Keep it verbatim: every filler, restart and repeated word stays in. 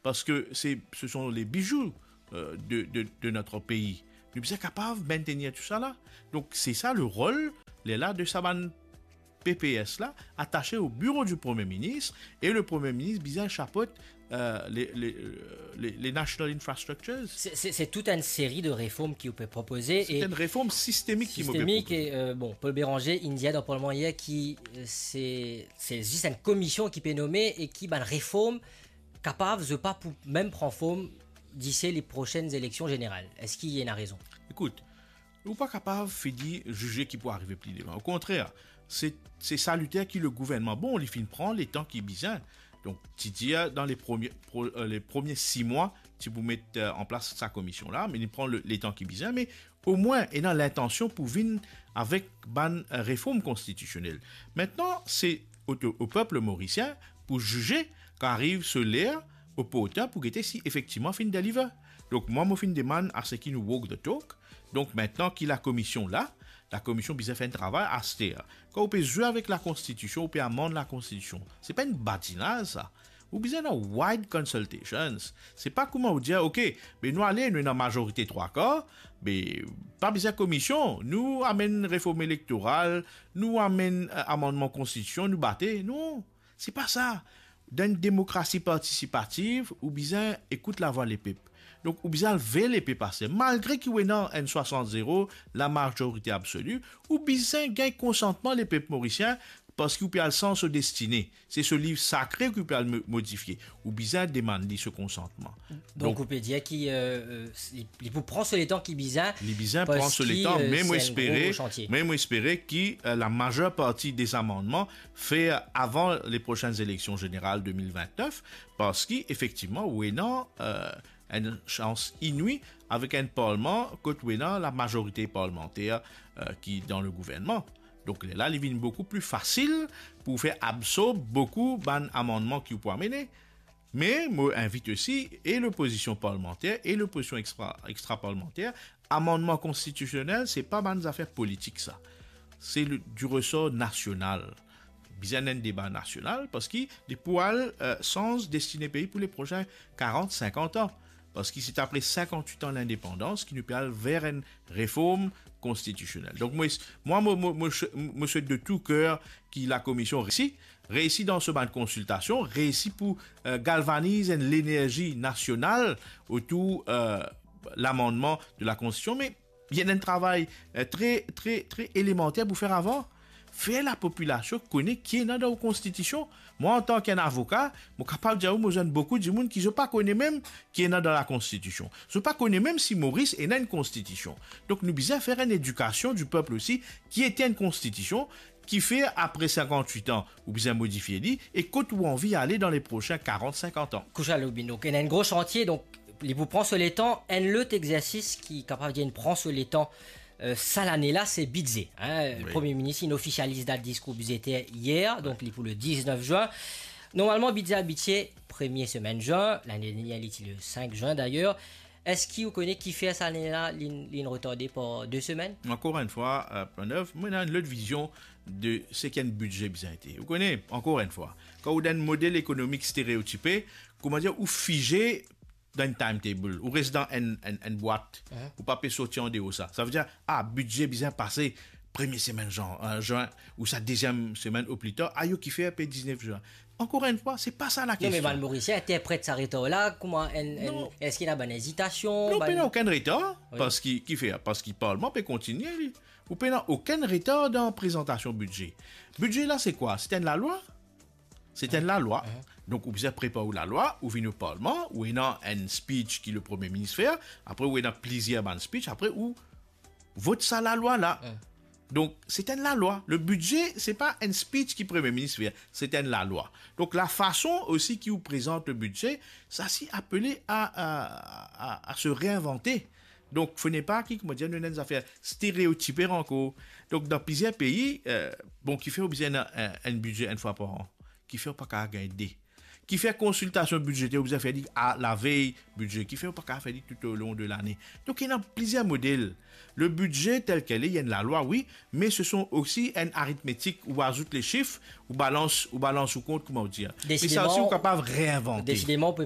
Parski se, se sont les bijoux, euh, de, de, de notre pays. Nou bizin kapav maintenir tou sa la. Donk, se sa le rol, lerla, de sa bann P P S la, atase o biro di Premie Minis, e le Premie Minis bizin shapot, euh, les, les, euh, les, les national infrastructures. Se, se, se tout enn seri de reform ki ou pe propoze. Se e enn reform sistemik ki mo pe sistemik propoze. E, euh, bon, Paul Bérenger, inn dir dan Parlman yer ki, euh, se, se zis enn komision ki pe nome e ki bann reform kapav, zot pa pou mem pran form disi les prochaines élections générales. Eski ena rezon? Ekout, ou pa kapav fini zize ki pou arive pli devan. Okontrer, se, se saliter ki le gouvernman, bon, li finn pran letan ki bizin. Donk, ti dir dan les premiers, pro-, euh, les premiers six mois, ti pou met, euh, an plas sa komision la, me li pran le, letan ki bizin, me omwin ena lintansion pou vinn avek bann, euh, reform konstitisionel. Aster, se o, o pep morisien pou zize kan ariv so ler oportin pou gete si efektivman finn deliver. Donk, mwa, mo finn demann a seki nou walk the talk. Donk, aster ki lakomision la, lakomision bizin fer enn travay aster. Kan ou pe zwe avek lakonstitision, ou pe amann lakonstitision, se pa enn badinaz sa. Ou bizin ena wide consultations. Se pa kouma ou dir, "Ok, be nou ale, nou ena mazorite trwa kar, be pa bizin komision, nou amenn reform elektoral, nou amenn, euh, amannman konstitision, nou bate." Non, se pa sa. Dan enn demokrasi partisipativ, ou bizin ekout lavwa lepep. Donk, ou bizin al ver lepep aster. Malgre ki ou ena enn swasant zero, lamazorite absoli, ou bizin gagn konsantman lepep morisien, parski ou pe al sanz so destine. Se so liv sakre ki ou pe al mo-, modifie. Ou bizin demann li so konsantman. Donk, donk, ou pe dir ki, euh, euh, li, li pou pran so letan ki bizin. Li bizin pran so letan, parski, euh, me mo espere, gro, gro santie. Me mo espere ki, euh, lamazer parti de zamannman fer avan les prochaines élections générales de mil vintnef, parski efektivman, ou ena, euh, enn sans inwi avek enn parlman kot ou ena lamazorite parlmanter, euh, ki dan le gouvernman. Donk, lerla, li vinn boukou pli fasil pou fer absorb boukou bann amannman ki ou pou amene. Me mo invit osi e lopozision parlmanter e lopozision extra-, extraparlmanter, amannman konstitisionel, se pa bann zafer politik sa. Se le, du resor nasional. Bizin enn deba nasional, parski li pou al, euh, sanz destine pei pou les prochains quarante, cinquante ans. Parski se apre cinquante-huit ans lindepandans ki nou pe al ver enn reform konstitisionel. Donk, mo, mwa, mo, mo, mo, mo swet de tou ker ki lakomision reisi, reisi dan so bann konsiltasion, reisi pou, euh, galvaniz enn lenerzi nasional otour, euh, lamannman de lakonstitision, me ena enn travay, euh, tre, tre, tre elemanter pou fer avan. Fer lapopilasion kone ki ena dan ou konstitision. Mwa, antan ki enn avoka, mo kapav dir ou, mo zwenn boukou dimoun ki zot pa kone mem ki ena dan lakonstitision. Zot pa kone mem si Moris ena enn konstitision. Donk, nou bizin fer enn edikasion di pep osi, ki ete enn konstitision, kifer apre cinquante-huit ans, ou bizin modifie li, e kot ou anvi ale dan les prochains quarante, cinquante ans. Kousa Loubin, donk, ena enn gro santie, donk, li pou pran so letan. Enn lot exersis ki kapav dir inn pran so letan, euh, sa lane la, se bidze, hein. Wi. Premie Minis inn ofisializ dat diskour bidzeter yer, donk, li pou le diznef zin. Normalman, bidze abitie premie semenn zin, lane dernier, li ti le sink zin, dayer. Eski ou kone kifer sa lane la, li, li inn retarde par de semenn? Ankor enn fwa, euh, Pranov, mwa, ena enn lot vizion de seki enn bidze bizin ete. Ou kone, ankor enn fwa, kan ou dan enn model ekonomik stereotipe, kouma dir, ou fize dan enn timetable, ou res dan enn, enn, enn bwat, mhm, ou pa pe sorti andeor sa. Sa ve dir, ah, bidze bizin pase premie semenn zin, euh, zin, ou sa deziem semenn o pli tar, ayo kifer pe diznef zin. Ankor enn fwa, se pa sa lakestion. Non, me bann Morisien interpret sa retar la kouma enn, enn, non, eski ena bann ezitasion, non, bann, pena okenn retar, wi, parski, kifer? Parski parlman pe kontigne, li. Ou pena okenn retar dan prezantasion bidze. Bidze la, se kwa? Se enn lalwa. Se enn lalwa. Mhm. Donk, ou bizin prepar ou lalwa, ou vinn o parlman, ou ena enn speech ki le Premie Minis fer, apre ou ena plizier bann speech, apre ou vot sa lalwa la. Mhm. Donk, se enn lalwa. Le bidze, se pa enn speech ki Premie Minis fer, se enn lalwa. Donk, lafason osi ki ou prezant le bidze, sa si apele a, a, a, a se reinventer. Donk, fode pa ki, kouma dir, nou ena enn zafer stereotipe ankor. Donk, dan plizier pei, euh, bon, kifer ou bizin ena enn, enn bidze enn fwa par an? Kifer ou pa kapav gagn de? Kifer konsiltasion bidzeter ou bizin fer li a lavey bidze? Kifer ou pa kapav fer li toutolong de lane? Donk, ena plizier model. Le bidze tel kel li, li enn lalwa, wi, me se son osi enn aritmetik, ou azout le sif, ou balans, ou balans ou kont, kouma ou dir. Me sa osi, desideman, ou kapav reinvante. Desideman, ou pe